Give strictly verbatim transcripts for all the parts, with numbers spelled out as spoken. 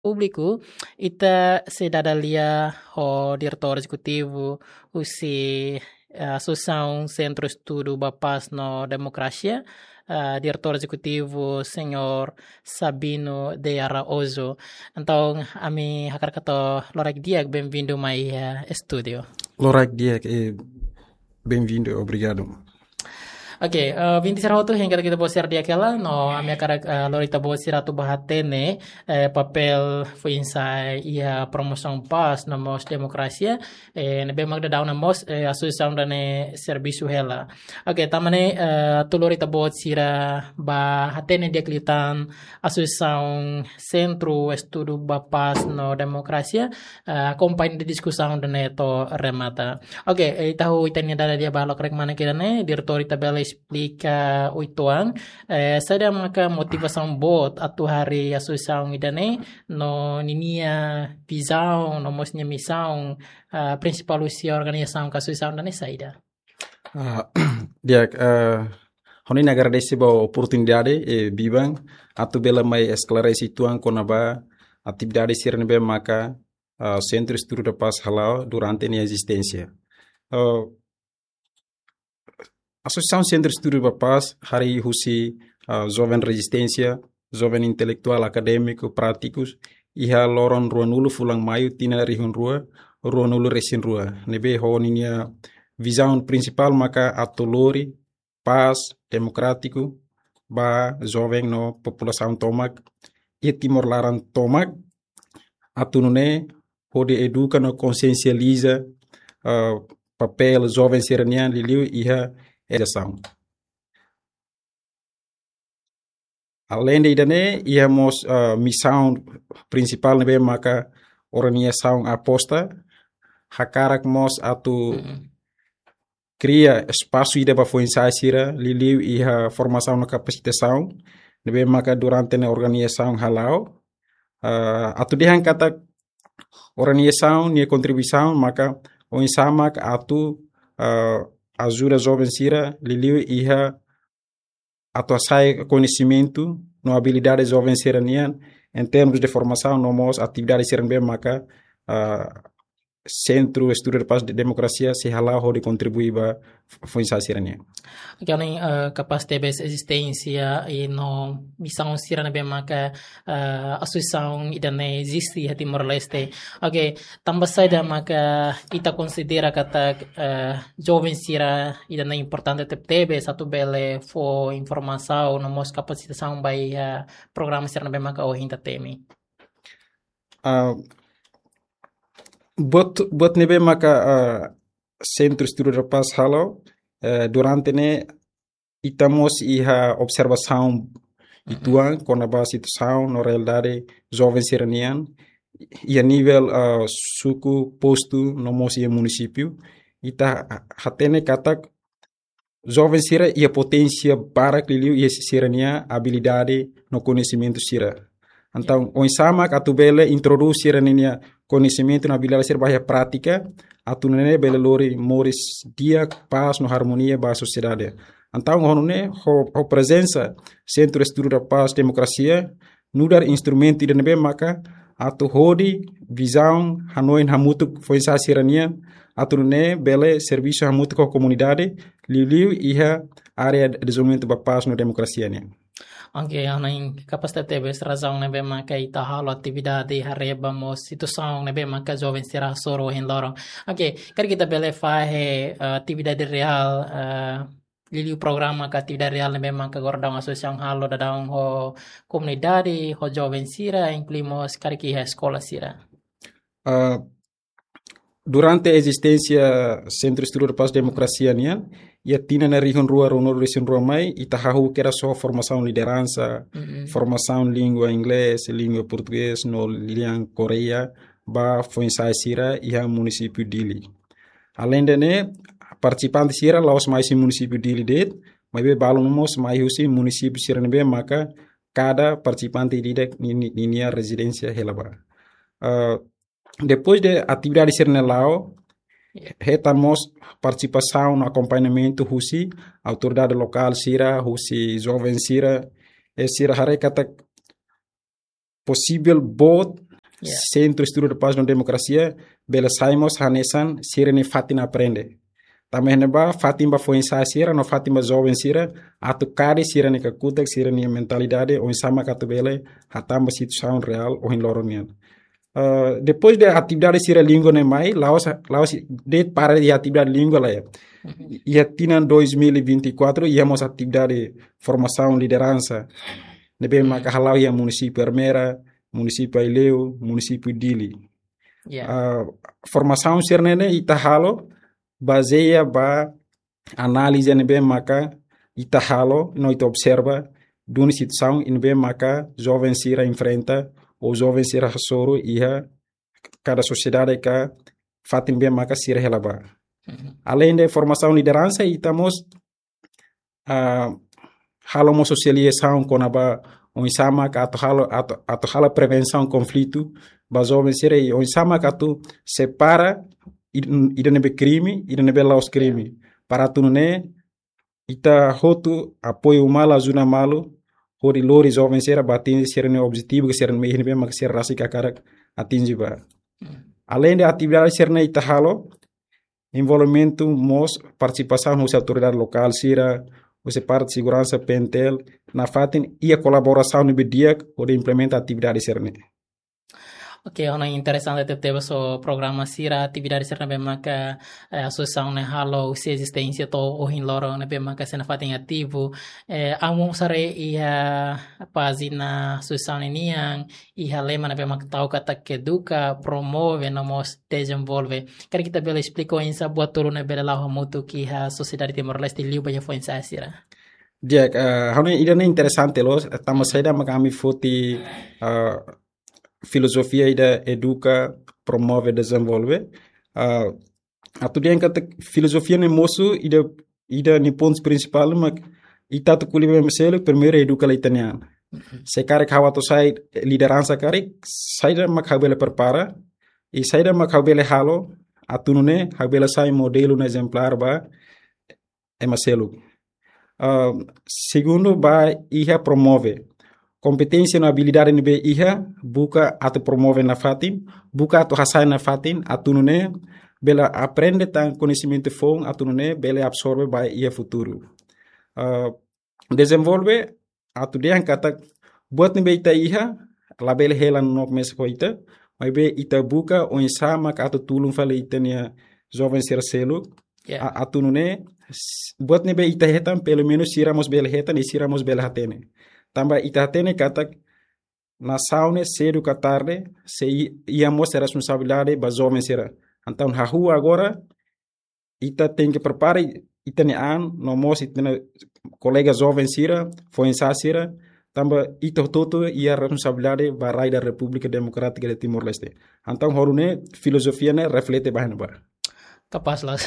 públiku, ita sei dada lia ho diretór ezekutivu husi, eh, Asosiasaun Sentru Estudu ba Pás no Demokrasia, eh, diretór ezekutivu señór Sabino de Araújo. Entaun, ami hakarak hato'o loraik di'ak, benvindu mai, eh, estúdiu. Loraik di'ak, eh, benvindu, obrigadu. Ok, eh, ouvinte sira hotu, hein katak ita-boot sira di'ak hela, no ami hakarak, eh, lori ita-boot sira atu bá hatene, eh, papél foin-sa'e iha promosaun pás no mós demokrasia, eh, ne'ebé mak daudaun ne'e mós, eh, asosiasaun ida-ne'e servisu hela. Ok, tanba ne'e, eh, atu lori ita-boot sira bá hatene di'ak liután Asosiasaun Sentru Estudu ba Pás no Demokrasia, eh, akompaña diskusaun ida-ne'e to'o remata. Ok, eh, ita hahú ita-nia dada di'ak ba lokraik mane ida-ne'e, diretór, ita bele esplika uitoan, eh, saida maka motivasaun boot atu harii asosiasaun ida-ne'e, no ninia vizaun, no mós nia misaun, eh, prinsipál husi organizasaun ka asosiasaun ida-ne'e saida? Ah, di'ak, eh, ha'u-nia nia agradese ba oportunidade, eh, biban, atu bele mai esklarese uitoan kona-ba atividade sira ne'ebé maka, ah, Sentru Estudu da Pás hala'o durante nia ezisténsia. Eh, Asosiasaun Sentru Estudu ba Pás harii husi, ah, joven rezisténsia, joven intelektuál, akadémiku, prátikus, iha loron ruanulu fulan Maiu tinan rihun rua, ruanulu resin rua. Ne'ebé ho ninia vizaun prinsipál maka atu lori pás demokrátiku ba joven no populasaun tomak, iha Timor laran tomak, atu nune'e hodi eduka no konsiensializa, eh, papél joven sira-nian liuliu iha edukasaun. Aleinde ida-ne'e, iha mós, eh, misaun prinsipál ne'ebé maka organizasaun aposta, hakarak mós atu Mm-mm. kria espasu ida ba foin-sa'e sira, liuliu iha formasaun no kapasitasaun, ne'ebé maka durante ne'e organizasaun hala'o, eh, atu dehan katak organizasaun nia kontribuisaun maka oinsá mak atu, eh, ajuda joven sira, liuliu iha atu hasa'e koñesimentu no abilidade joven sira-nian, em termos de formasaun no mós atividade sira ne'ebé maka, eh, Sentru Estudu da Pás no Demokrasia sei hala'o hodi kontribui ba f-, foin-sa'e sira-nian. Ok, ha'u hanoin, eh, kapás tebes ezisténsia i no misaun sira ne'ebé maka, eh, asosiasaun ida-ne'e eziste iha Timor-Leste. Ok, tanba saida maka ita konsidera katak, eh, joven sira ida-ne'e importante tebetebes atu bele fó informasaun no mós kapasitasaun ba iha programa sira ne'ebé maka ohin ita temi? Ah, buat, buat ne'ebé maka, ah, Sentru Estudu da Pás halo, eh, durante ne'e ita mós iha observasaun Mhm. uitoan kona-ba situasaun no realidade joven sira-nian, iha nivel, ah, suku, postu, no mós iha munisípiu. Ita ha-, hatene katak joven sira iha poténsia barak liuliu iha sira-nia abilidade no koñesimentu sira. Entaun, Ya. oinsá mak atu bele introdús sira-nia koñesimentu no abilidade sira ba iha prátika, atu nune'e bele lori moris di'ak, pás no armonia ba sosiedade. Entaun, ho nune'e, ho, ho prezensa Sentru Estudu da Pás Demokrasia, nu'udar instrumentu ida ne'ebé maka atu hodi vizaun, hanoin hamutuk foin-sa'e sira-nian, atu nune'e bele servisu hamutuk ho komunidade, liuliu iha área dezenvolvimentu ba pás no demokrasia nian. Ok, ha'u hanoin kapás tebetebes razaun ne'ebé maka ita halo atividade haree ba mós situasaun ne'ebé maka joven sira hasoru ohin loron. Ok, karik ita bele fahe, eh, atividade reál, eh, liuliu programa ka atividade reál ne'ebé maka agora daudaun asosiasaun halo daudaun ho komunidade, ho joven sira, inklui mós karik iha eskola sira? Ah, durante ezisténsia Sentru Estudu da Pás Demokrasia nian, iha tinan rihun rua ruanulu resin rua mai, ita hahú kedas ho formasaun lideransa, Mm-mm. formasaun língua inglés, língua portugés, no lian Koreia, ba foin-sa'e sira iha munisípiu Dili. Aleinde ne'e, partisipante sira la'ós mai husi munisípiu Dili de'it, maibé balu mós mai husi munisípiu sira ne'ebé maka kada partisipante ida-idak ni-, ni-, ninia rezidénsia hela ba. Ah, depois de atividade sira-ne'e la'o, Ya. hetan mós partisipasaun no akompañamentu husi autoridade lokál sira, husi joven sira, i sira haree katak posivel boot Sentru Estudu de Paz no Demokrasia, bele sai mós hanesan sira-nia fatin aprende. Tanba ne'ebá fatin ba foin-sa'e sira no fatin ba joven sira, atu kari sira-nia kakutak, sira-nia mentalidade, oinsá mak atu bele hatán ba situasaun reál ohin loron nian. Ah, depois de atividade sira língua ne'e mai, la'ós, la'ós de'it para iha atividade língua la iha. Iha tinan dois mil e vinte e quatro, iha mós atividade formasaun lideransa ne'ebé maka hala'o iha munisípiu Ermera, munisípiu Aileu, munisípiu Dili. Ah, formasaun sira-ne'e ne'e ita halo bazeia ba análize ne'ebé maka ita halo, no ita observa duni situasaun ne'ebé maka joven sira enfrenta, ou joven sira hasoru iha kada sosiedade ka fatin ne'ebé maka sira hela ba. Aleinde formasaun lideransa, ita mós, ah, halo mós sosializasaun kona-ba oinsá mak atu halo, atu, atu halo prevensaun konflitu ba joven sira, i oinsá mak atu separa ida, ida ne'ebé krime, ida ne'ebé la'ós krime. Para atu nune'e ita hotu apoiu malu, ajuda malu, hodi lori joven sira ba atinje sira-nia objetivu, ka sira-nia mehi ne'ebé mak sira rasik hakarak atinje ba. Aleinde atividade sira-ne'e ita halo, envolvimentu mós partisipasaun husi autoridade lokál sira, husi parte seguransa, PNTL, nafatin iha kolaborasaun ne'ebé di'ak hodi implementa atividade sira-ne'e. Oke, ona interesante tebes so programa sira, atividade sira ne'ebé maka, eh, asosiasaun ne'e halo husi ezisténsia to'o ohin loron ne'ebé maka sei nafatin ativu. Eh, ami mós haree iha pájina asosiasaun nian, iha lema ne'ebé maka tau katak eduka, promove, no mós dezenvolve. Karik ita bele esplika oinsá buat tolu ne'e bele la'o hamutuk iha sosiedade Timor-Leste liu ba iha foin-sa'e sira. Di'ak, eh, ha'u hanoin ida-ne'e interesante loos, tanba saida maka ami foti, eh, filozofia ida eduka, promove, dezenvolve. Eh, atu dehan katak filozofia ne'e mosu ida, ida nia pontu prinsipál mak ita atu ko'alia ba ema seluk, primeiru eduka hela ita-nia an. Se karik ha'u atu sai lideransa karik, saida mak ha'u bele prepara, i saida mak ha'u bele halo, atu nune'e ha'u bele sai modelu no ezemplár ba ema seluk. Ah, segundu, ba iha promove. Kompeténsia no abilidade ne'ebé iha, buka atu promove nafatin, buka atu hasa'e nafatin, atu nune'e bele aprende tan koñesimentu foun, atu nune'e bele absorve ba iha futuru. Ah, dezenvolve, atu dehan katak buat ne'ebé ita iha, labele hela no mesak ho ita, maibé ita buka oinsá mak atu tulun fali ita-nia joven sira seluk, a-, atu nune'e, s-, buat ne'ebé ita hetan, pelumenus sira mós bele hetan, i sira mós bele hatene. Tanba ita hatene katak nasaun ne'e sedu ka tarde, sei i-, iha mós responsabilidade ba joven sira. Entaun, hahú agora, ita tenke prepara ita-nia an, no mós ita-nia kolega joven sira, foin-sa'e sira, tanba ita hotu-hotu iha responsabilidade ba rai da Repúblika Demokrátika de Timor-Leste. Entaun, hodi nune'e filozofia ne'e reflete ba iha ne'ebá. Kapás loos.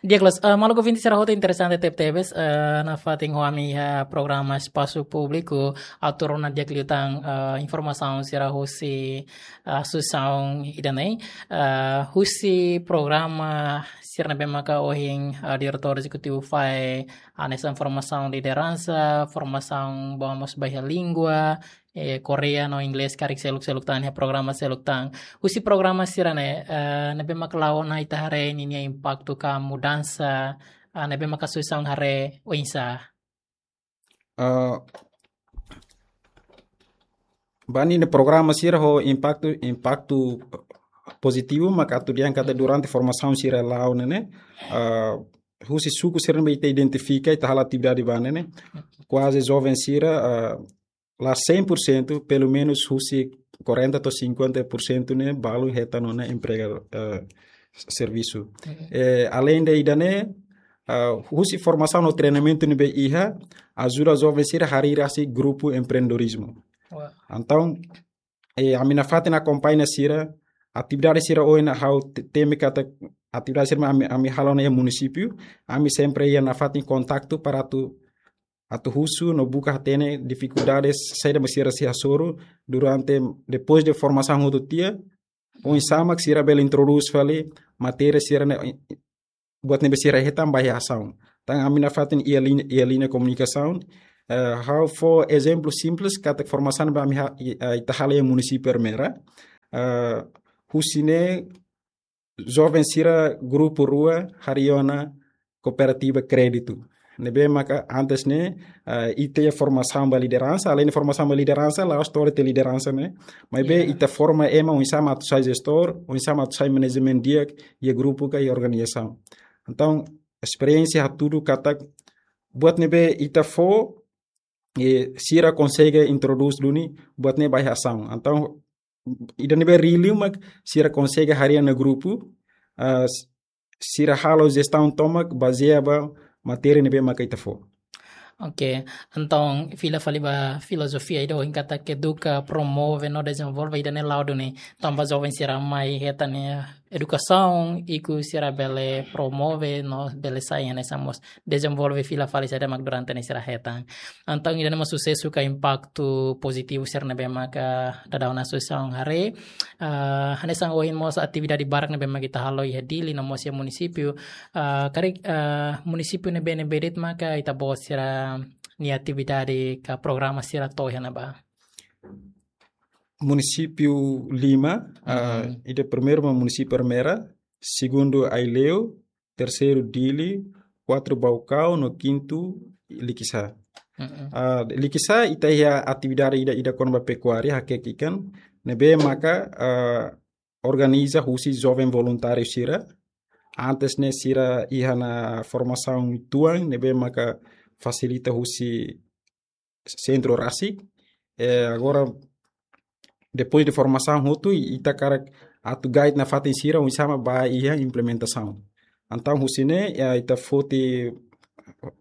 Di'ak loos, eh, maluk ouvinte sira hotu, interesante tebetebes, eh, nafatin ho ami iha programa Espasu Públiku, atu rona di'ak liután, eh, informasaun sira husi, eh, asosiasaun ida-ne'e, eh, husi programa sira ne'ebé maka ohin, eh, diretór ezekutivu fahe, hanesan formasaun lideransa, formasaun ba mós ba iha língua, eh, Korea no Inglés, karik seluk-seluk tan, iha programa seluk tan. Husi programa sira-ne'e, eh, ne'ebé mak la'o ona ita haree ninia impaktu ka mudansa, eh, ne'ebé mak asosiasaun haree oinsá? Ah, ba ninia programa sira ho impaktu, impaktu pozitivu, mak atu dehan katak durante formasaun sira la'o ne'e ne'e, ah, husi suku sira ne'ebé ita identifika, ita halo atividade ba ne'e ne'e, kuaze joven sira, ah, la cem por cento, pelumenus husi quarenta to'o cinquenta por cento ne'e balu hetan ona emprega, eh, servisu. Eh, aleinde ida-ne'e, ah, husi formasaun no treinamentu ne'ebé iha, ajuda joven sira harii rasik grupu empreendedorizmu. Entaun, eh, ami nafatin akompaña sira, atividade sira ohin ha'u te-, temi katak atividade sira ami, ami halo ona iha munisípiu, ami sempre iha nafatin kontaktu para atu atu husu no buka hatene difikuldades saida mak sira sei hasoru durante, depois de formasaun hotu tiha, oinsá mak sira bele introdús fali matéria sira-ne'e, buat ne'ebé sira hetan ba iha asaun. Tan ami nafatin iha liña, iha liña komunikasaun, eh, ha'u fó ezemplu simples, katak formasaun ne'ebé ami ha-, i-, eh, ita halo iha munisípiu Ermera. ah, husi ne'e joven sira grupu rua harii ona kooperativa kréditu. Ne'ebé maka antes ne'e, ah, ita iha formasaun ba lideransa, além de formasaun ba lideransa, la'ós to'o iha lideransa ne'e. Maibé ita forma ema oinsá mak atu sai jestór, oinsá mak atu sai manajemen di'ak iha grupu ka iha organizasaun. Entaun, esperiénsia hatudu katak buat ne'ebé ita fó, eh, sira konsege introdús duni buat ne'e ba iha asaun. Entaun, ida ne'ebé reál mak sira konsege harii ona grupu, ah, s-, sira halo jestaun tomak bazeia ba matéria ne'ebé maka ita fó. Oke, entaun fila fali ba filozofia ida ohin katak eduka, promove no dezenvolve ida-ne'e la'o duni. Tanba joven sira mai hetan edukasaun, ikus sira bele promove no bele sai hanesan mós dezenvolve fila fali saida mak durante ne'e sira hetan. Entaun ida-ne'e mós susesu ka impaktu pozitivu sira ne'ebé maka daudaun asosiasaun haree. Ah, hanesan ohin mós atividade barak ne'ebé maka ita halo iha Dili no mós iha munisípiu. Ah, karik, ah, munisípiu ne'ebé-ne'ebé de'it maka ita-boot sira-nia atividade ka programa sira to'o iha ne'ebá? Munisípiu lima, ah, ida primeiru mak munisípiu Ermera, segundu Aileu, terseiru Dili, kuartu Baucau, no kintu Likisá. Ah, Likisá ita iha atividade ida, ida kona-ba pekuária, hakek ikan, ne'ebé maka, ah, organiza husi joven voluntáriu sira. Antes ne'e sira iha ona formasaun uitoan, ne'ebé maka fasilita husi sentru rasik. Eh, agora, depois de formasaun hotu, ita hakarak atu guide nafatin sira oinsá mak ba iha implementasaun. Entaun husi ne'e, eh, ita foti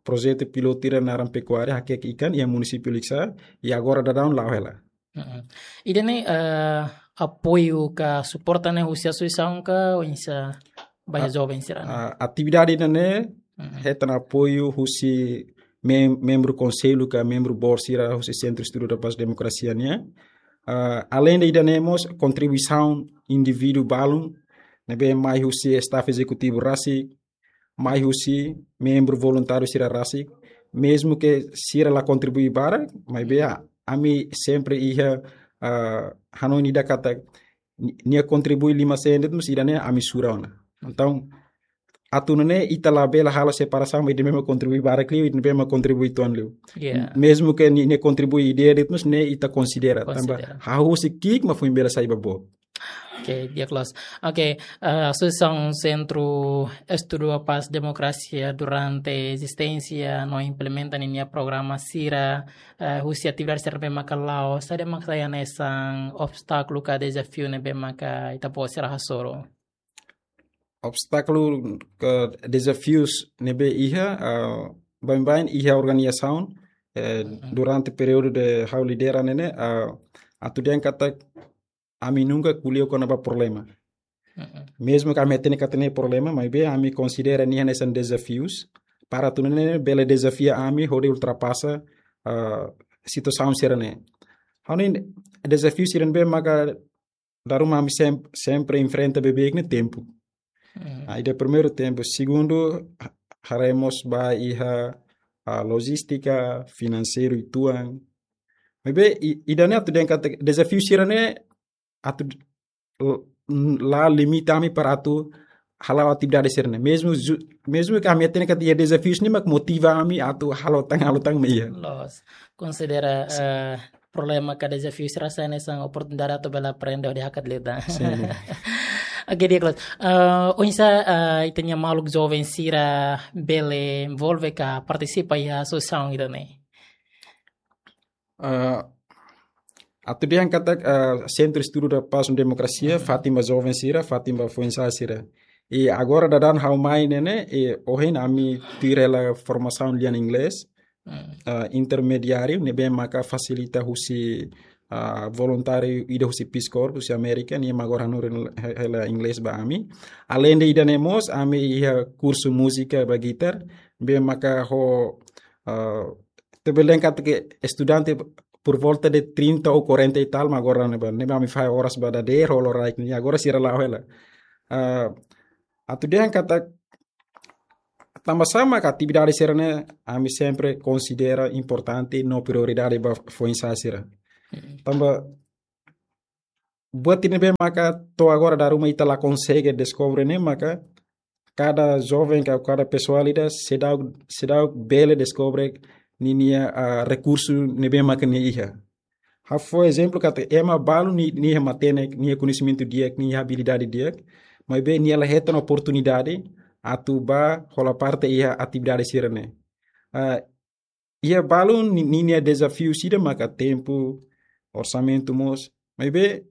projetu pilotu ida naran pekuária, hakek ikan, iha munisípiu Likisá, i agora daudaun la'o hela. Mm-mm. Ida-ne'e, eh, apoiu ka suporta ne'e husi asosiasaun ka oinsá ba iha joven sira-ne'e? Ah, atividade ida-ne'e hetan apoiu husi mem-, membru konsellu ka membru board sira husi Centro Estudo da Paz Democracia nian. Ah, além de ida-ne'e mós kontribuisaun indivíduu balun ne'ebé mai husi staff ezekutivu rasik, mai husi membru voluntáriu sira rasik, mezmu ke sira la kontribui barak, maibé ami sempre iha, ah, hanoin ida katak ni-, nia kontribui lima sen de'it mós ida-ne'e ami sura ona. Entaun, atu nune'e ita labele halo separasaun, ida ne'ebé mak kontribui barak liu, ida ne'ebé mak kontribui uitoan liu. Yeah. Mezmu ke ni-, nia kontribui ideia de'it mós ne'e ita konsidera. Tanba hahú husi ki'ik mak foin bele sai ba boot. Oke, di'ak loos. Oke, eh, Asosiasaun Sentru Estudu Pás Demokrasia durante ezisténsia no implementa ninia programa sira, eh, husi atividade sira ne'ebé maka la'o, saida mak sai hanesan obstákulu ka dezafiu ne'ebé maka ita-boot sira hasoru? Obstákulu ka dezafius ne'ebé iha, ah, baibain iha organizasaun, eh, durante períodu de ha'u lidera ne'e ne'e, ah, atu dehan katak ami nunka ko'alia kona-ba problema. Mezmu ke ami hatene katak ne'e problema, maibé ami konsidera nia hanesan dezafius, para atu nune'e bele dezafia ami hodi ultrapasa, ah, situasaun sira-ne'e. Ha'u hanoin dezafiu sira ne'ebé maka dala ruma ami sem-, sempre enfrenta beibeik ne'e tempu. Ah, ida primeiru tempu, segundu, ha-, haree mós ba iha, ah, lojístika, finanseiru uitoan. Maibé i-, ida-ne'e atu dehan katak dezafiu sira-ne'e atu d-, l-, n-, la limita ami para atu hala'o atividade sira-ne'e. Mezmu ju-, mezmu ke ami hatene katak iha dezafius ne'e mak motiva ami atu halo tan, halo tan mak iha. Loos. Konsidera, eh, problema ka dezafiu sira sai hanesan oportunidade atu bele aprende hodi hakat liután. Sin. Oke, di'ak loos. Eh, oinsá, eh, ita-nia maluk joven sira bele envolve ka partisipa iha asosiasaun ida-ne'e? Ah, atu dehan katak, ah, Centro Estudo da Paz no Democracia, fatin ba joven sira, fatin ba foin-sa'e sira. I agora daudaun ha'u mai ne'e ne'e, i ohin ami tuir hela formasaun lian inglés, ah, intermediáriu, ne'ebé maka fasilita husi, ah, voluntáriu ida husi Peace Corps, husi Amérika, nia mak agora hanorin he-, hela inglés ba ami. Além de ida-ne'e mós, ami iha kursu múzika ba gitar, ne'ebé maka ho, ah, ita bele dehan katak estudante por volta de trinta ou quarenta e tal, mak agora ne'ebá, ne'ebá ami fahe oras ba dadeer, ho loraik ne'e, agora sira la'o hela. Ah, atu dehan katak tanba sá mak atividade sira-ne'e ami sempre konsidera importante no prioridade ba foin-sa'e sira. Tanba Buat ida ne'ebé maka to'o agora dala ruma ita la konsege deskobre ne'e maka kada joven ka kada pesoál ida seidauk, seidauk bele deskobre ninia, ah, rekursu ne'ebé maka nia iha. Ha'u fó ezemplu katak ema balu nia, nia matenek, nia koñesimentu di'ak, nia abilidade di'ak, maibé nia la hetan oportunidade atu bá hola parte iha atividade sira-ne'e. Ah, iha balu ni-, ninia dezafiu sira maka tempu, orsamentu mós. Maibé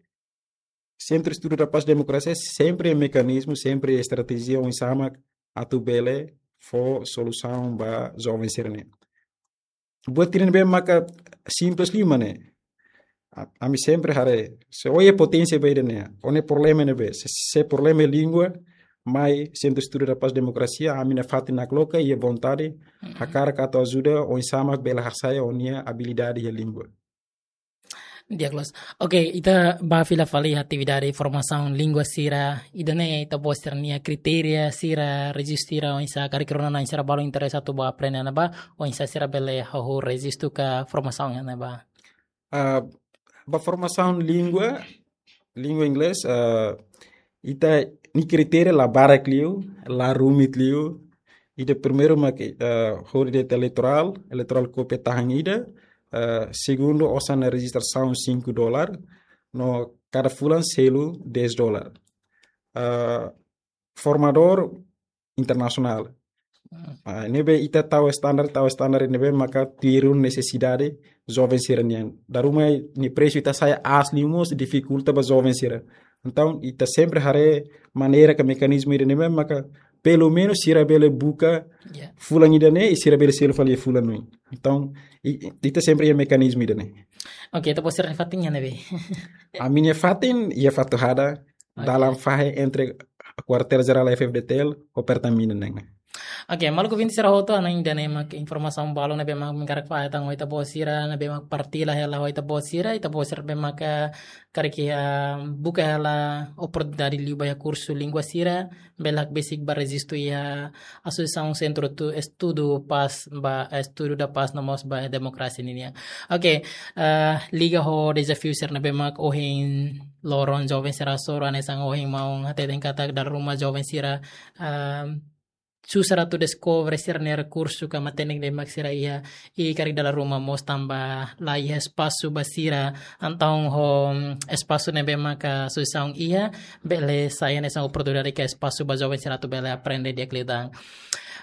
Sentru Estudu da Paz Demokrasia sempre mekanizmu, sempre estratéjia oinsá mak atu bele fó solusaun ba joven sira-ne'e. Buat ida ne'ebé maka simples liu mak ne'e. A-, ami sempre haree, se ó iha poténsia ba ida-ne'e, ó-nia problema ne'ebé, se, se problema língua, mai Sentru Estudu da Paz Demokrasia, ami nafatin nakloke iha vontade, Mhm. hakarak atu ajuda oinsá mak bele hasa'e ó-nia abilidade iha língua. Di'ak loos. Oke, ita bá fila fali atividade formasaun língua sira, ida-ne'e ita-boot sira-nia kritéria sira, rejistu sira, oinsá karik rona na'in sira balu interese atu bá aprende ona ba, oinsá sira bele hahú rejistu ka formasaun ne'e ba. Ah, ba formasaun língua, língua inglés, ah, ita-nia kritéria la barak liu, la rumit liu. Ida primeiru mak, ah, hodi de'it eleitorál, eleitorál kópia tahan ida. Ah, segundu, osan rejistrasaun cinco dólar, no kada fulan selu dez dólar. Ah, formadór internasionál. Hmm. Ah, ne'ebé ita tau standar, tau standar ne'ebé maka tuir nesesidade joven sira-nian. Dala ruma nia presu ita hasa'e aas liu mós difikulta ba joven sira. Entaun, ita sempre haree maneira ka mekanizmu ida ne'ebé maka pelumenus sira bele buka Ya. fulan ida-ne'e, i sira bele selu fali fulan oin. Entaun, i-, i-, ita sempre iha mekanizmu ida-ne'e. Oke, ita-boot sira-nia fatin iha ne'ebé? Ami-nia fatin iha Fatuhada, Oke. dalan fahe entre Kuartél Jerál F-FDTL ho Pertamina nian. Oke, maluk ouvinte sira hotu, ha'u hanoin ida-ne'e mak informasaun balu ne'ebé mak ami hakarak fahe tan ho ita-boot sira, ne'ebé mak partilla hela ho ita-boot sira, ita-boot sira ne'ebé mak, eh, karik, eh, buka hela oportunidade liu ba iha kursu língua sira, bele hakbesik bá rejistu iha Asosiasaun Sentru Estudu Paz ba, eh, Estudu da Paz no mós ba Demokrasia ninian. Oke, eh, liga ho dezafiu sira ne'ebé mak ohin loron joven sira hasoru, hanesan ohin maun hateten katak dala ruma joven sira, ah, susar atu deskobre sira-nia rekursu ka matenek ne'ebé mak sira iha, i karik dala ruma mós tanba la iha espasu ba sira, entaun ho espasu ne'ebé maka asosiasaun iha, bele sai hanesan oportunidade ka espasu ba joven sira atu bele aprende di'ak liután.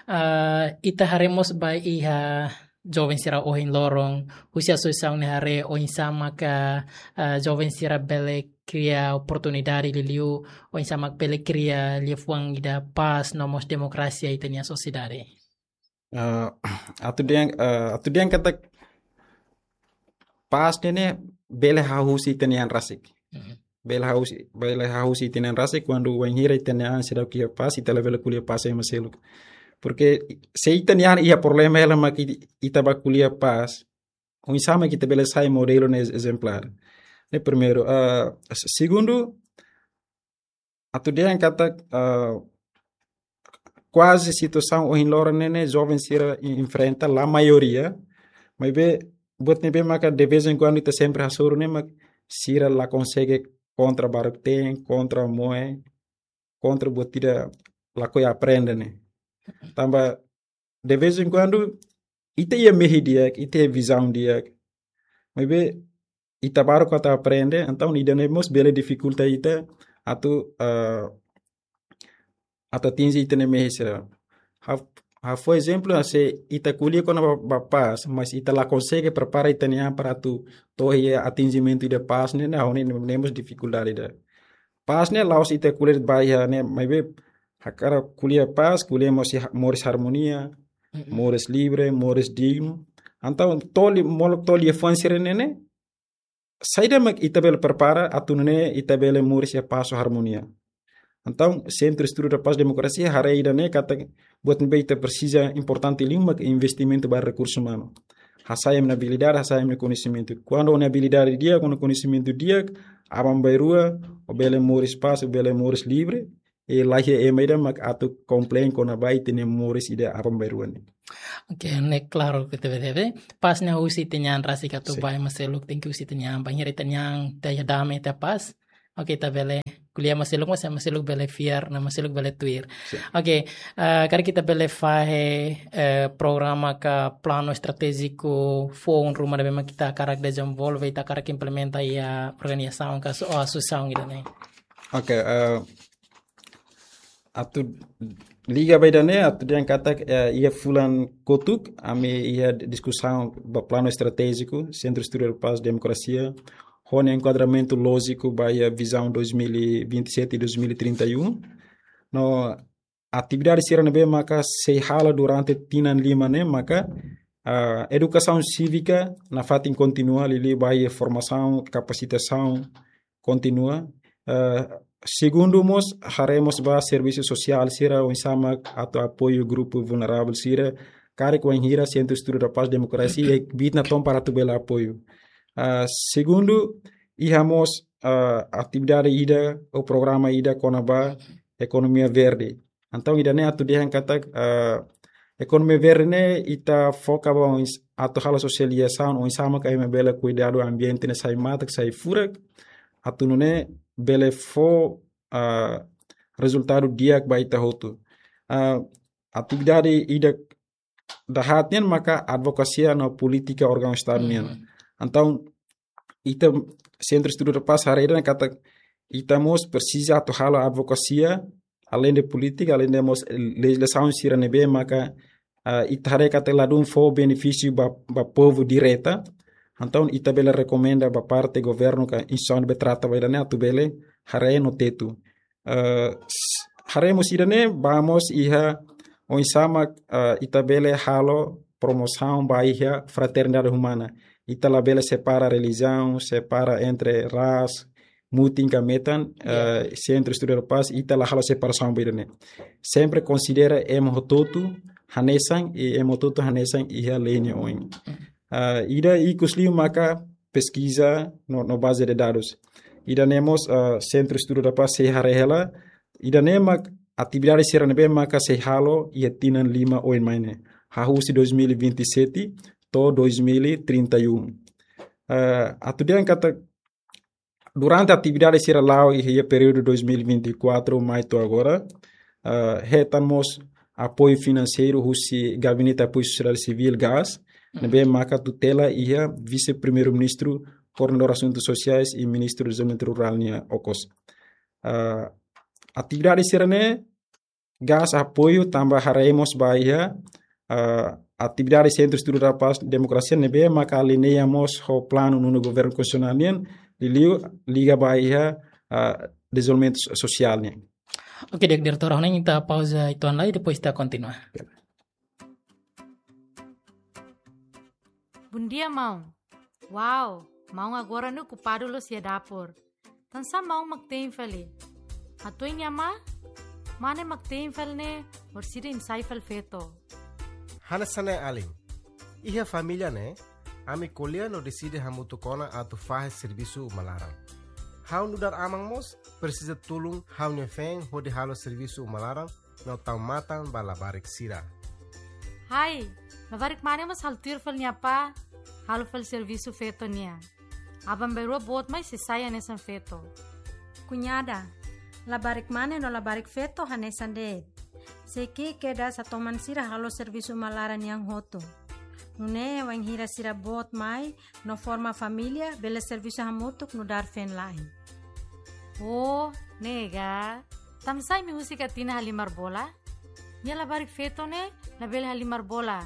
Ah, ita haree mós ba iha joven sira ohin loron, husi asosiasaun ne'e haree oinsá maka, ah, joven sira bele kria oportunidade liuliu, oinsá mak bele kria liafuan ida pás no mós demokrasia iha ita-nia sosiedade. Ah, atu dehan, ah, atu dehan katak pás ne'e bele hahú husi ita-nia an rasik. Mhm. Bele hahú husi, bele hahú husi ita-nia an rasik, kuandu wainhira ita-nia an seidauk iha pás, ita labele ko'alia pás ema seluk. Porke se ita-nia an iha problema hela mak ita bá ko'alia pás, oinsá mak ita bele sai modelu ne'e ezemplár. Ne'e primeiru, ah, se-, segundu, atu dehan katak, ah, kuaze situasaun ohin loron ne'e, ne'e joven sira en-, enfrenta, la maioria, maibé buat ne'ebé maka de vez em quando ita sempre hasoru ne'e mak sira la konsege kontra baruk-teen, kontra moe, kontra buat ida lakohi aprende ne'e. Tanba de vez em quando ita iha mehi di'ak, ita iha vizaun di'ak, maibé ita baruk atu aprende, entaun ida-ne'e mós bele difikulta ita atu, ah, atu atinje ita-nia mehi sira. Ha'u, ha'u fó ezemplu, se ita ko'alia kona-ba, ba pás, mas ita la konsege prepara ita-nia an para atu to'o iha atinjimentu ida pás ne'e, ne'e, ne'e mós difikuldade ida. Pás ne'e la'ós ita ko'alia ba iha ne'e, maibé hakarak ko'alia pás, ko'alia mós iha moris armonia, Mm-mm. moris livre, moris dignu. Entaun, to'o liu, molok to'o liafuan sira-ne'e ne'e, saida mak ita bele prepara atu nune'e ita bele moris iha pás ho armonia. Entaun, Sentru Estudu da Paz Demokrasia haree ida-ne'e katak buat ne'ebé ita presiza importante liu mak investimentu ba rekursu umanu. Hasa'e ema nia abilidade, hasa'e ema nia koñesimentu. Kuandu ó-nia abilidade di'ak, ó-nia koñesimentu di'ak, aban-bainrua ó bele moris pás, ó bele moris livre, i la iha ema ida mak atu komplain kona-ba ita-nia moris ida aban-bainrua ne'e. Oke, ne'e klaru, P T B T V. Pás ne'e husi ita-nia an rasik atu Sin. ba ema seluk, tenke husi ita-nia an, bainhira ita-nia an iha dame, iha pás, Oke, ita bele ko'alia, ema seluk, ema seluk bele fiar, ema seluk bele tuir. Sin. Oke, eh, karik ita bele fahe, eh, programa ka planu estratéjiku foun ruma ne'ebé mak ita hakarak dezenvolve, ita hakarak implementa iha organizasaun ka aso-, asosiasaun ida-ne'e. Oke, eh, atu liga ba ida-ne'e, atu dehan katak, eh, iha fulan kotuk, ami iha diskusaun ba planu estratéjiku, Centro Estudo da Paz Democracia, ho nia enkuadramentu lójiku ba iha vizaun dois mil e vinte e sete e dois mil e trinta e um. No atividade sira ne'ebé maka sei halo durante tinan lima ne'e maka, ah, edukasaun sívika nafatin kontinua, liuliu ba iha formasaun, kapasitasaun kontinua. Ah, segundu mós, haree mós ba servisu sosiál sira oinsá mak atu apoiu grupu vulneravel sira, karik wainhira Centro Estudo da Paz Democracia iha kbiit natoon para atu bele apoiu. Ah, segundu, iha mós, ah, atividade ida ou programa ida kona-ba ekonomia verde. Entaun, ida-ne'e atu dehan katak, ah, ekonomia verde ne'e ita foka ba oins-, atu halo sosializasaun oinsá maka ema bele kuidadu ambiente ne'e, sai matak, sai furak, atu nune'e bele fó, ah, rezultadu di'ak ba ita hotu. Ah, atividade ida dahaat nian maka advokasia no polítika órgaun Estadu nian. Mhm. Entaun, ita Centro Estudo da Paz haree dehan katak ita mós presiza atu halo advokasia, além de polítika, além de mós lejizlasaun sira ne'ebé maka, ah, ita haree katak ladún fó benefísiu ba, ba povu direta. Entaun, ita bele rekomenda ba parte governu ka instituisaun ne'ebé trata ba ida-ne'e atu bele haree no tetu. Eh, s-, haree mós ida-ne'e, ba mós iha oinsá mak, eh, ita bele halo promosaun ba iha fraternidade umana. Ita labele separa relijiaun, separa entre ras, mutin ka metan, ya, eh, Centro Estudo da Paz, ita la halo separasaun ba ida-ne'e. Sempre konsidera ema hotu-hotu hanesan, i ema hotu-hotu hanesan iha lei nia oin. Ah, ida ikus liu maka peskiza no, no baze de dadus. Ida-ne'e mós, ah, Centro Estudo da Paz sei haree hela, ida-ne'e mak atividade sira ne'ebé maka sei halo iha tinan lima oin mai ne'e. Hahú husi dois mil e vinte e sete to'o dois mil e trinta e um. Ah, atu dehan katak durante atividade sira la'o iha períodu dois mil e vinte e quatro mai to'o agora, ah, hetan mós apoiu finanseiru husi Gabinete Apoiu Sosiedade Sivíl, GAS, ne'ebé maka tutela iha Vise-Primeiru-Ministru, Koordenadór Asuntus Sosiais i Ministru Dezenvolvimentu Rurál nia okos. Ah, atividade sira-ne'e GAS apoiu tanba haree mós ba iha, ah, atividade Centro Estudo da Paz Democracia ne'ebé maka aliña mós ho planu nonu governu konstitusionál nian, liuliu liga ba iha, ah, dezenvolvimentu so-, sosiál nian. Oke, di'ak, diretór, ha'u hanoin ita pauza uitoan lai, depois ita kontinua. Bondia, maun. Wow, maun agora ne'e okupadu loos iha dapur. Tansá maun mak te'in fali? Hato'o nia ma, mane mak te'in fali ne'e, orsida imi sai fali feto. Hanesan ne'e alin. Iha família ne'e, ami ko'alia no deside hamutuk ona atu fahe servisu uma laran. Ha'u nu'udar aman mós, presiza tulun ha'u-nia feen hodi halo servisu uma laran, no tau matan ba labarik sira. Hai, labarik mane mós halo tuir fali nia apá, halo fali servisu feto nian. Aban-bainrua boot mai sei sai hanesan feto. Kuñada, labarik mane no labarik feto hanesan de'it. Sei ki'ik kedas atu toman sira halo servisu uma laran nian hotu. Nune'e wainhira sira boot mai, no forma família, bele servisu hamutuk nu'udar feen-la'en. Oh, ne'e ka. Tansá imi husik Atina halimar bola? Nia labarik feto ne'e labele halimar bola.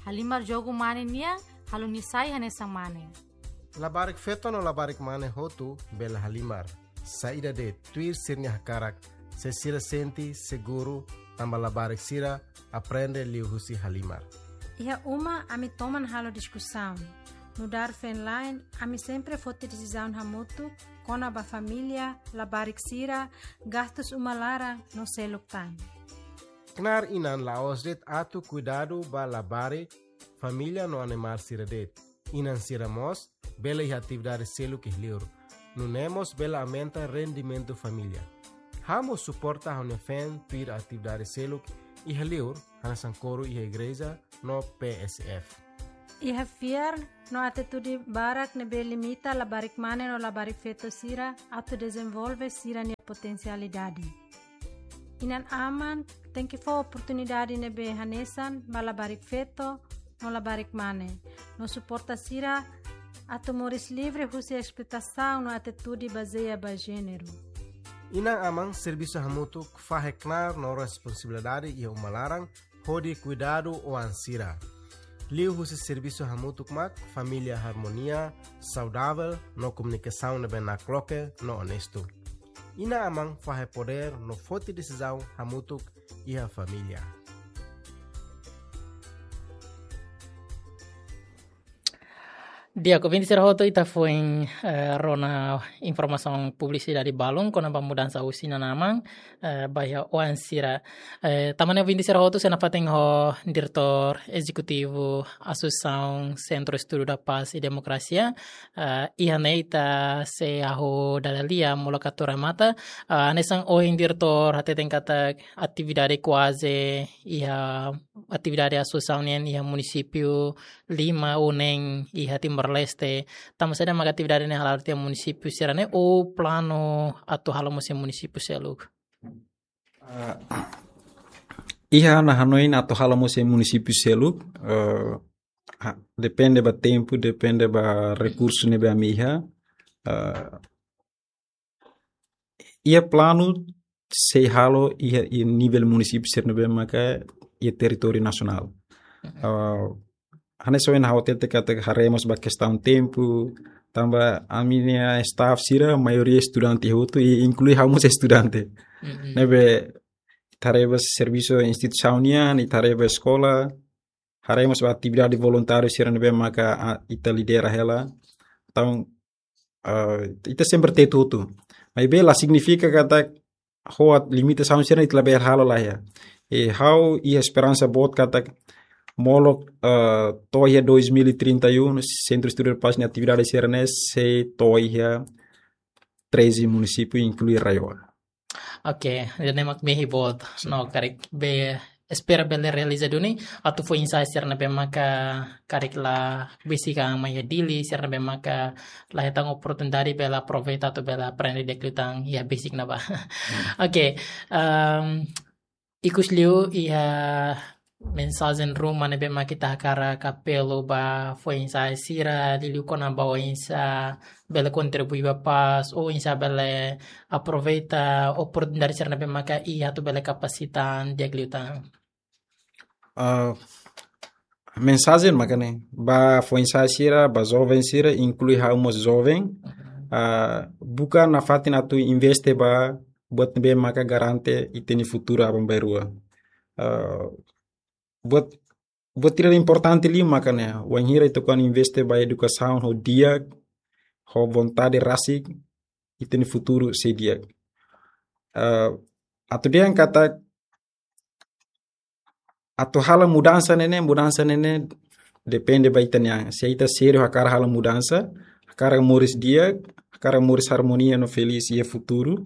Halimar jogu mane nian, halo nia sai hanesan mane. Labarik feto no labarik mane hotu bele halimar. Saida de'it, tuir sira-nia hakarak, se sira sente seguru, tanba labarik sira aprende liuhusi halimar. Iha uma ami toman halo diskusaun. Nu'udar feen-la'en, ami sempre foti desizaun hamutuk, kona-ba família, labarik sira, gastus uma laran, no seluk tan. Knaar inan la'ós de'it atu kuidadu ba labarik, família no animál sira de'it. Inan sira mós bele iha atividade seluk iha liur. Nune'e mós bele aumenta rendimentu família. Ha'u mós suporta ha'u-nia feen tuir atividade seluk iha liur, hanesan koru iha igreja no P S F. Iha fiar no atitude barak ne'ebé limita labarik mane no labarik feto sira atu dezenvolve sira-nia potensialidade. Inan-aman tenke fó oportunidade ne'ebé hanesan ba labarik feto no labarik mane, no suporta sira atu moris livre husi esploitasaun no atitude bazeia ba jéneru. Inan-aman servisu hamutuk fahe knaar no responsabilidade iha uma laran hodi kuidadu oan sira. Liuhusi servisu hamutuk mak família harmonia, saudavel no komunikasaun ne'ebé nakloke no onestu. Inan-aman fahe podér no foti desizaun hamutuk iha família. Di'ak, ouvinte sira hotu, ita foin, eh, rona informasaun publisidade balun kona-ba mudansa husi inan-aman, eh, ba iha oan sira. Eh, tanba ne'e ouvinte sira hotu, sei nafatin ho Diretór Ezekutivu Asosiasaun Sentru Estudu da Paz e Demokrasia, eh, iha ne'e ita sei hahú dada lia molok atu remata. Eh, hanesan ohin Diretór hateten katak atividade kuaze iha atividade asosiasaun nian iha munisípiu lima ou neen iha Timor-Leste. Tanba saida maka atividade ne'e hala'o tiha munisípiu sira-ne'e ou planu atu halo mós iha munisípiu seluk? Ah, iha ha'u-nia hanoin atu halo mós iha munisípiu seluk, eh, ha, depende ba tempu, depende ba rekursu ne'ebé ami iha. Eh, iha planu sei halo iha, iha nivel munisípiu sira ne'ebé maka iha territóriu nasionál. Mhm. Ah, hanesan ohin ha'u hatete katak haree mós ba kestaun tempu, tanba ami-nia staff sira maioria estudante hotu, i inklui ha'u mós estudante. Mhm. Ne'ebé ita haree ba servisu instituisaun nian, ita haree ba eskola, haree mós ba atividade voluntáriu sira ne'ebé maka, ah, ita lidera hela. Entaun, ah, ita sempre tetu hotu. Maibé la signifika katak ho limitasaun sira ita labele halo, lae. I ha'u iha esperansa boot katak molok, ah, to'o iha dois mil e trinta e um, Sentru Estudu da Paz nia atividade sira-ne'e sei to'o iha treze munisípiu, inklui RAEOA. Oke, ida-ne'e mak mehi boot. Sin. No karik be espera bele realiza duni, atu foin-sa'e sira ne'ebé maka karik la besik an mai iha Dili, sira ne'ebé maka la hetan oportunidade bele aproveita atu bele aprende di'ak liután iha besik ne'ebá. Hmm. Oke, ehm, ikusliu iha mensajen ruma ne'ebé mak ita hakarak apelu ba foin-sa'e sira, liuliu kona-ba oinsá bele kontribui ba pás, oinsá bele aproveita oportunidade sira ne'ebé maka iha atu bele kapasita an di'ak liután. Ah, mensajen maka ne'e, ba foin-sa'e sira, ba joven sira, inklui ha'u mós joven, mhm, ah, buka nafatin atu investe ba buat ne'ebé maka garante ita-nia futuru aban-bainrua. Ah, buat, buat ida importante liu maka ne'e, wainhira ita kuan investe ba edukasaun ho di'ak, ho vontade rasik, ita-nia futuru sei di'ak. Ah, atu dehan katak atu halo mudansa ne'e ne'e, mudansa ne'e ne'e depende ba ita-nia an. Se ita sériu hakarak halo mudansa, hakarak moris di'ak, hakarak moris harmonia no felís iha futuru,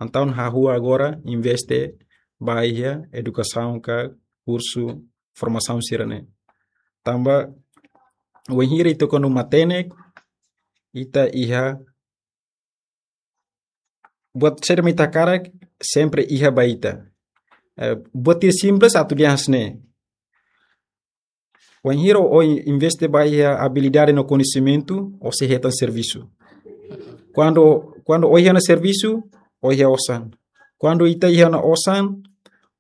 entaun hahú agora investe ba iha edukasaun ka kursu formasaun sira-ne'e. Tanba wainhira ita kuandu matenek, ita iha buat saida mak ita hakarak, sempre iha ba ita. Eh, buat ida simples atu dehan hanesan ne'e. Wainhira ó investe ba iha abilidade no koñesimentu, ó sei hetan servisu. Kuandu, kuandu ó iha ona servisu, ó iha osan. Kuandu ita iha ona osan,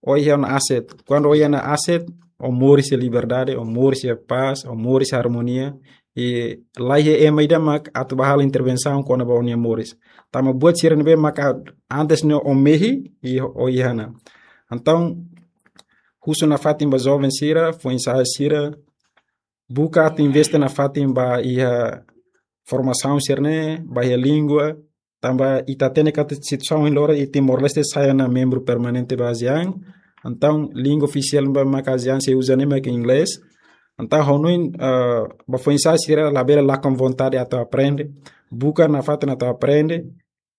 ó iha ona aset. Kuandu ó iha ona aset, ó moris iha liberdade, ó moris iha pás, ó moris iha armonia. I la iha ema ida mak atu bá halo intervensaun kona-ba ó-nia moris. Tanba buat sira ne'ebé mak antes ne'e ó mehi, i ó iha ona. Entaun, husu nafatin ba joven sira, foin-sa'e sira, buka atu investe nafatin ba iha formasaun sira-ne'e, ba iha língua, tanba ita hatene katak situasaun ohin loron iha Timor-Leste sai ona membru permanente ba ASEAN. Entaun, língua ofisiál ne'ebé maka ASEAN sei uza ne'e mak inglés. Entaun, ha'u hanoin, eh, ba foin-sa'e sira labele lakon vontade atu aprende. Buka nafatin atu aprende.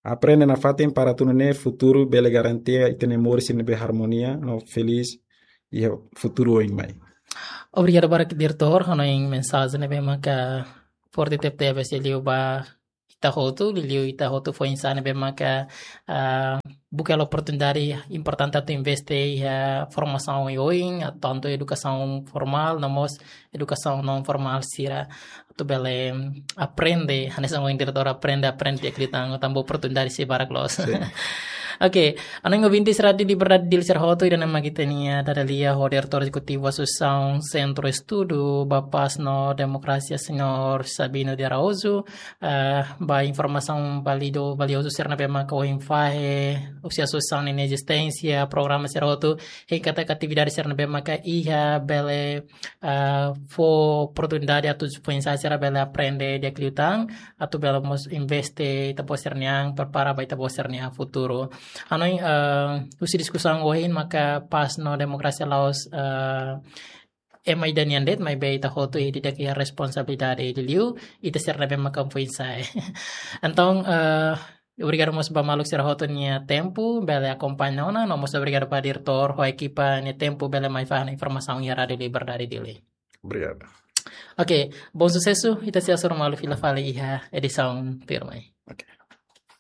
Aprende nafatin para atu nune'e futuru bele garantia ita-nia moris ne'ebé harmonia no felís iha futuru oin mai. Obrigadu barak diretór, hanoin mensajen ne'ebé maka forte tebes liu ba ita hotu, liu ita hotu foin-sa'e ne'ebé maka, ah, buka hela oportunidade importante atu investe iha formasaun oioin, tantu edukasaun formál, no mós edukasaun naun formál sira, atu bele aprende, hanesan ohin diretór aprende, aprende iha Kliutan, tanba oportunidade sei barak loos. Sin. Oke, hanoin ouvintes Rádiu Liberdade Dili sira hotu, ida-ne'e mak ita-nia dada-lia ho diretór ezekutivu Asosiasaun Sentru Estudu ba Pás no Demokrasia, señór Sabino de Araújo, ah, ba informasaun válidu, valiozu sira ne'ebé maka ohin fahe, husi asosiasaun ninia ezisténsia, programa sira hotu, hein katak atividade sira ne'ebé maka iha bele, ah, fó oportunidade atu foin-sa'e sira bele aprende di'ak liután, atu bele mós investe ita-boot sira-nian, prepara ba ita-boot sira-nia futuru. Hanoin, ah, husi diskusaun ohin maka pás no demokrasia la'ós, ah, ema ida nian de'it, maibé ita hotu ida-idak iha responsabilidade liuliu ita sira ne'ebé maka foin-sa'e. Entaun, ah, obrigadu mós ba maluk sira hotu nia tempu, bele akompaña ona, no mós obrigadu ba diretór ho ekipa nia tempu bele mai fahe informasaun iha Rádiu Liberdade Dili. Obrigadu. Oke, bom susesu, ita sei hasoru malu fila fali iha edisaun tuirmai. Oke.